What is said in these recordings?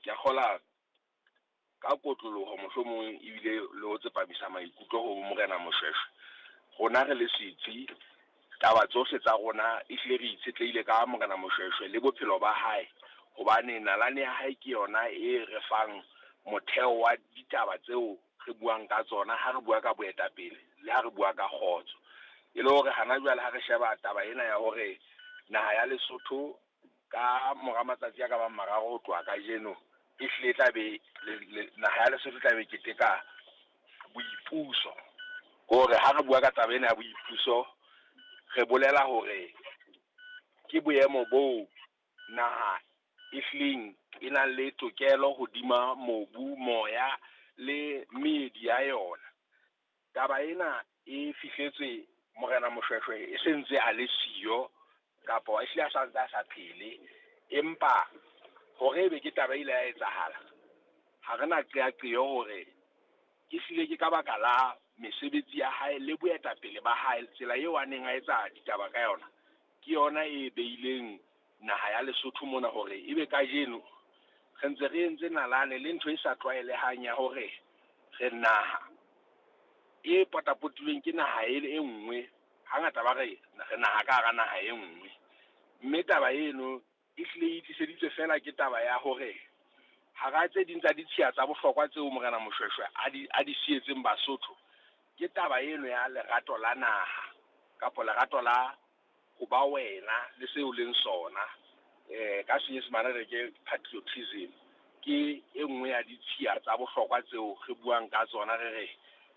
Ke a kgola ka kotloloho mohlomong ebile le ho tsepamisa maikutlo ho Morena Moshweshwe. Rona re le setsi, taba tsohle tsa rona ehlile re itshetlehile ka Morena Moshweshwe le bophelo ba hae, hobane nalane ya hae ke yona e re fang motheo wa ditaba tseo re buang ka tsona ha re bua ka boetapele le ha re bua ka kgotso. E le hore hana jwale ha re sheba taba ena ya hore naha ya Lesotho ka mora matsatsi a ka bang mararo ho tloha kajeno, ehlile e tla be naha ya Lesotho e tla be keteka boipuso. Hore ha re bua ka taba ena ya boipuso, re bolela hore ke boemo boo naha e hlileng e nang le tokelo hodima mobu, moya le meedi ya yona. Taba ena e fihletswe Morena Moshweshwe e sentse a le siyo kapa ehlile a santse a sa phele, empa hore ebe ke taba e ile ya etsahala, ha re na qeaqeo hore ke hlile ke ka baka la mesebetsi ya hae le boetapele ba hae, tsela eo a neng a etsa ditaba ka yona, ke yona e beileng naha ya Lesotho mona hore ebe kajeno re ntse re entse nalane le ntho e sa tlwaelehang ya hore re naha e potapotilweng ke naha e e nngwe. Hangata ba re re naha ka hara naha e nngwe, mme taba eno e hlile e tliseditswe fela ke taba ya hore hara tse ding tsa ditshiya tsa bohlokwa tseo Morena Moshweshwe a di sietseng Basotho, ke taba eno ya lerato la naha kapa lerato la ho ba wena le seo leng sona. Ka Senyesemane re ke patriotism, ke e nngwe ya ditshiya tsa bohlokwa tseo re buang ka tsona, re re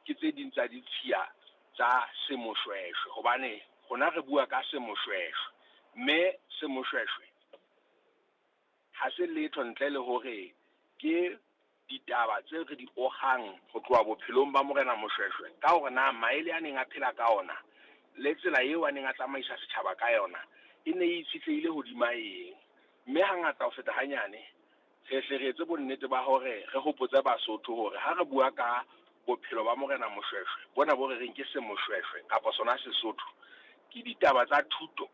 ke tse ding tsa ditshiya tsa semoshweshwe, hobane rona re bua ka semoshweshwe, mme semoshweshwe ha se letho ntle le hore ke ditaba tse re di ogang ho tloha bophelong ba Morena Moshweshwe, ka hore na maele a neng a phela ka ona le tsela eo a neng a tsamaisa setjhaba ka yona e ne e itshetlehile hodima eng. Mme hangata ho feta hanyane re hle re etse bonnete ba hore re hopotse Basotho hore ha re bua ka bophelo ba Morena Moshweshwe bona bo re reng ke semoshweshwe kapa sona Sesotho, ke ditaba tsa thuto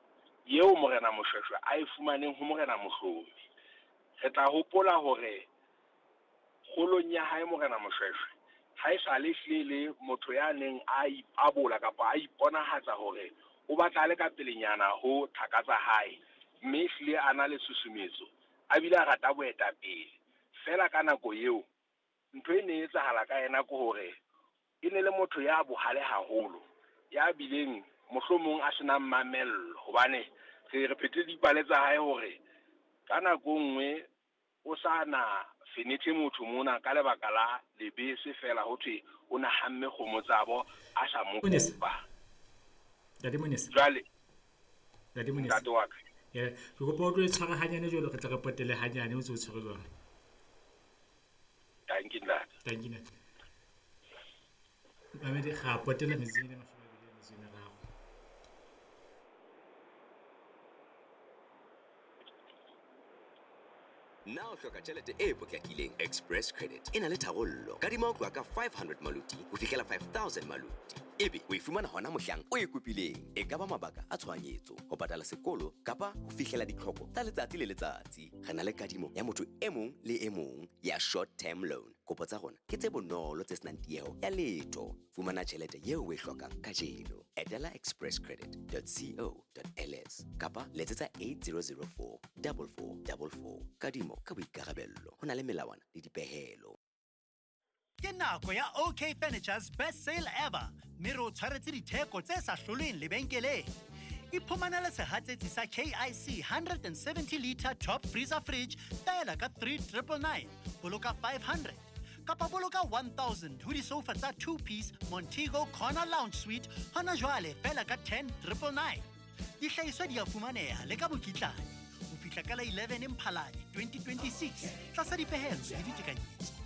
eo Morena Moshweshwe a e fumaneng ho Morena Mohlomi. Re tla hopola hore kgolong ya hae Morena Moshweshwe ha e sa le hlile le motho ya neng a ipabola kapa a iponahatsa hore o batla a le ka pelenyana ho thaka tsa hae, mme hlile a na le susumetso, a bile a rata boetapele. Fela ka nako eo ntho e ne e etsahala ka yena ke hore e ne le motho ya bohale haholo, ya bileng mohlomong a senang mamello, hobane re phethile dipale tsa hae hore ka nako nngwe o sa na fenethe motho mona ka lebaka la lebese fela, ho thwe o na hamme kgomo tsabo a sa mo kopa. Ntate Monesa. Jwale Ntate Monesa. Ntate wa ka. Ke kopa o tlo e tshwara hanyane jwalo, re tle re potele hanyane o ntse o tshwere jwalo. Thank you, ntate. Thank you, ntate. Mamedi, ga potela metsing e 23. Na o hloka tjhelete e potlakileng? Express Credit e na le tharollo. Kadima ho tloha ka 500 maluti ho fihlela 5000 maluti, ebe o e fumana hona mohlang o e kopileng. E ka ba mabaka a tshohanyetso, ho patala sekolo kapa ho fihlela ditlhoko tsa letsatsi le letsatsi. Re na le kadimo ya motho e mong le e mong ya short term loan. Kopo tsa rona ke tse bonolo tse senang tieho ya letho. Fumana tjhelete eo o e hlokang kajeno. Etela expresscredit.co.ls kapa letsetsa 8004 4444. Kadimo ka boikarabello, ho na le melawana le dipehelo. Ke nako ya OK Furniture's best sale ever, mme re o tshwaretse ditheko tse sa hlolweng lebenkeleng. Iphumanele sehatsetsi sa KIC 170 liter top freezer fridge fela ka 3999, boloka 500 kapa boloka 1000 ho disofa tsa 2-piece Montego Corner Lounge Suite hona jwale fela ka 10999. Dihlahiswa di a fumaneha le ka mokitlane ho fihla ka la 11 Mphalane 2026 tlasa dipehelo le ditekanyetso.